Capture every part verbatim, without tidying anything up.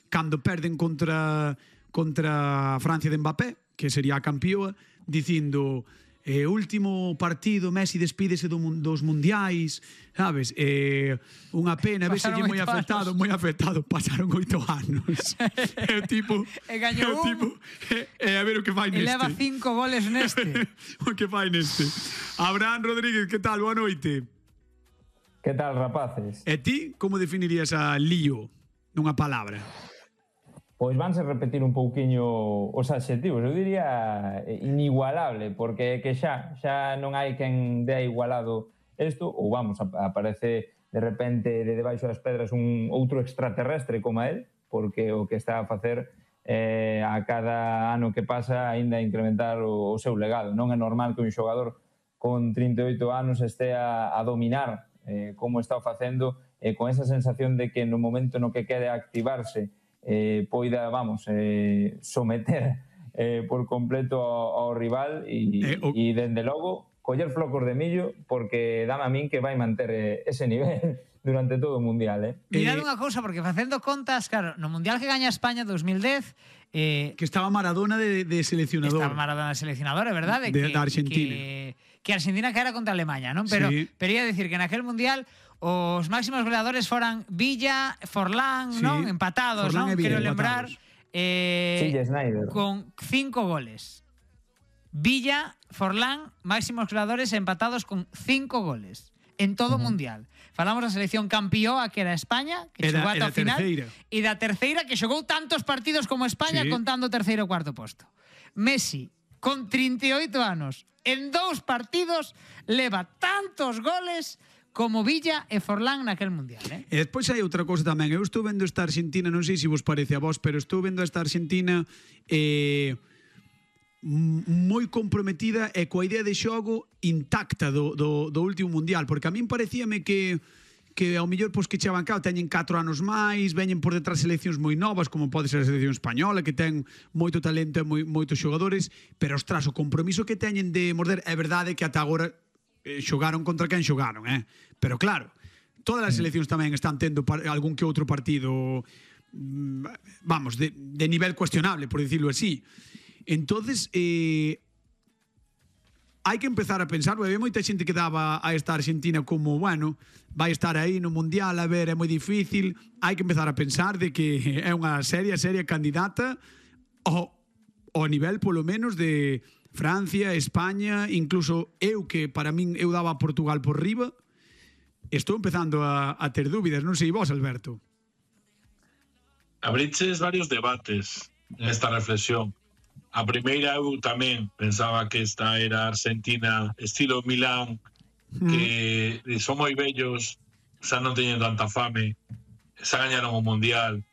cando perden contra contra a Francia de Mbappé, que sería a campeoa, dicindo eh, último partido, Messi despídese do, dos mundiais, sabes? Eh, unha pena, veselle moi afectado, moi afectado, pasaron oito anos. É o tipo, e gañou un, tipo, e, e a ver o que fai neste. E leva cinco goles neste. O que fai neste. Abraham Rodríguez, que tal? Boa noite. Que tal, rapaces? E ti, como definirías a lío nunha palabra? Pois vanse repetir un pouquiño os adxetivos, eu diría inigualable, porque que xa xa non hai quen dea igualado isto, ou vamos, aparece de repente de debaixo das pedras un outro extraterrestre como él, porque o que está a facer eh, a cada ano que pasa aínda incrementar o, o seu legado. Non é normal que un xogador con trinta e oito anos estea a dominar eh, como está o facendo, eh, con esa sensación de que no momento no que quere activarse Eh, poida, vamos, eh, someter eh, por completo ao, ao rival e, eh, o... e dende logo coller flocos de millo, porque dame a min que vai manter eh, ese nivel durante todo o Mundial, eh? Mirad unha cousa, porque facendo contas, claro, no Mundial que gaña España dos mil dez, eh, que estaba Maradona de, de seleccionador. Estaba Maradona de seleccionador, é verdade, de, que, da Argentina. Que, que Argentina que era contra Alemanha, non? Pero sí. Pero ia decir que naquel Mundial os máximos goleadores foran Villa, Forlán, sí. non? Empatados, Forlán non? Quero lembrar eh, sí, con cinco goles. Villa, Forlán, máximos goleadores empatados con cinco goles en todo o uh-huh. Mundial. Falamos da selección campeoa que era España, que era, xogou ata o final, terceira. E da terceira que xogou tantos partidos como España, sí. Contando o terceiro e cuarto posto. Messi, con trinta e oito anos, en dous partidos leva tantos goles como Villa e Forlán naquel Mundial, eh? E despois hai outra cousa tamén. Eu estou vendo esta Argentina, non sei se vos parece a vos, pero estou vendo esta Argentina eh, moi comprometida e coa idea de xogo intacta do, do, do último Mundial, porque a min parecíame que que ao mellor pois que chevan cá teñen catro anos máis, veñen por detrás seleccións moi novas, como pode ser a selección española, que ten moito talento e moi, moitos xogadores, pero ostras, o compromiso que teñen de morder, é verdade que ata agora eh, xogaron contra quen xogaron, eh? Pero claro, todas as seleccións tamén están tendo algún que outro partido, vamos, de, de nivel cuestionable, por decirlo así. Entonces, eh, hai que empezar a pensar, porque hai moita xente que daba a esta Argentina como, bueno, vai estar aí no Mundial, a ver, é moi difícil. Hai que empezar a pensar de que é unha seria, seria candidata ao, ao nivel, polo menos, de Francia, España, incluso eu, que para min eu daba a Portugal por riba, estou empezando a, a ter dúbidas. Non sei vos, Alberto. Abriches varios debates nesta reflexión. A primeira, eu tamén pensaba que esta era Argentina estilo Milán, mm. que son moi bellos, xa non teñen tanta fame, xa gañaron o Mundial.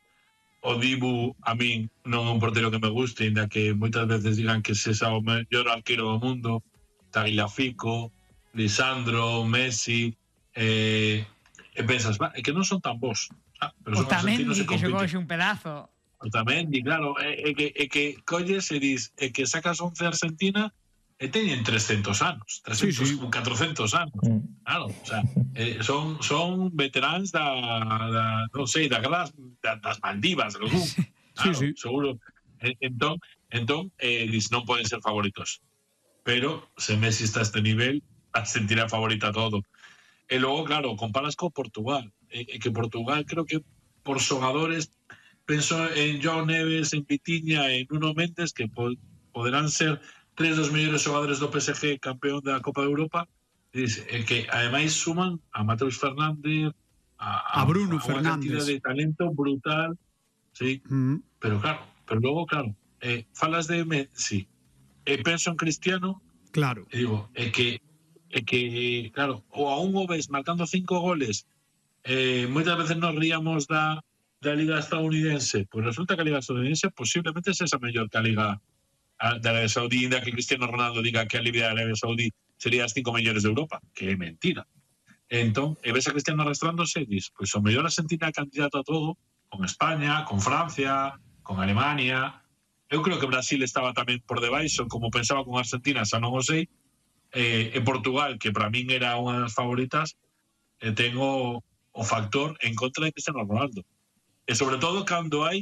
O Dibu, a min, non é un portero que me guste, ainda que moitas veces digan que se xa o mellor arquero do mundo. Tagliafico, Lisandro, Messi, eh, e pensas, va, é que non son tan bons. Ah, pero o tamén di que xogou un pedazo. Otamendi, claro, é, é, que, é que colles e dis, é que sacas once Argentina e teñen trescentos anos, trescentos, sí, sí. catrocentos anos, mm. claro, o sea, eh, son, son veteráns da, da non sei, da das, das Maldivas, algún, claro, sí, sí. Seguro. Entón, entón eh, dis, non poden ser favoritos, pero se Messi está a este nivel, Argentina favorita todo. E logo, claro, comparas con Portugal, e eh, que Portugal creo que por xogadores, penso en João Neves, en Vitinha, en Nuno Mendes, que po poderán ser tres dos mellores xogadores do P S G campeón da Copa de Europa, e que ademais suman a Mateus Fernández, a, a, a Bruno a Fernández, unha cantidad de talento brutal, sí, mm. pero claro, pero logo, claro, eh, falas de Messi, e penso en Cristiano, claro, e digo, é que, é que, claro, ou a un o ves marcando cinco goles, eh, moitas veces nos ríamos da da Liga estadounidense, pues resulta que a Liga estadounidense posiblemente es esa mellor que a Liga de Arabia Saudí, inda que Cristiano Ronaldo diga que a Liga de Arabia Saudí sería as cinco mellores de Europa, que é mentira. Entón, e ves a Cristiano arrastrándose e dis, pois o mellor Argentina candidato a todo, con España, con Francia, con Alemania. Eu creo que Brasil estaba tamén por debaixo, como pensaba con Argentina, xa non o sei, eh, e Portugal, que para min era unha das favoritas, eh, tengo o factor en contra de Cristiano Ronaldo. e sobre todo cando hai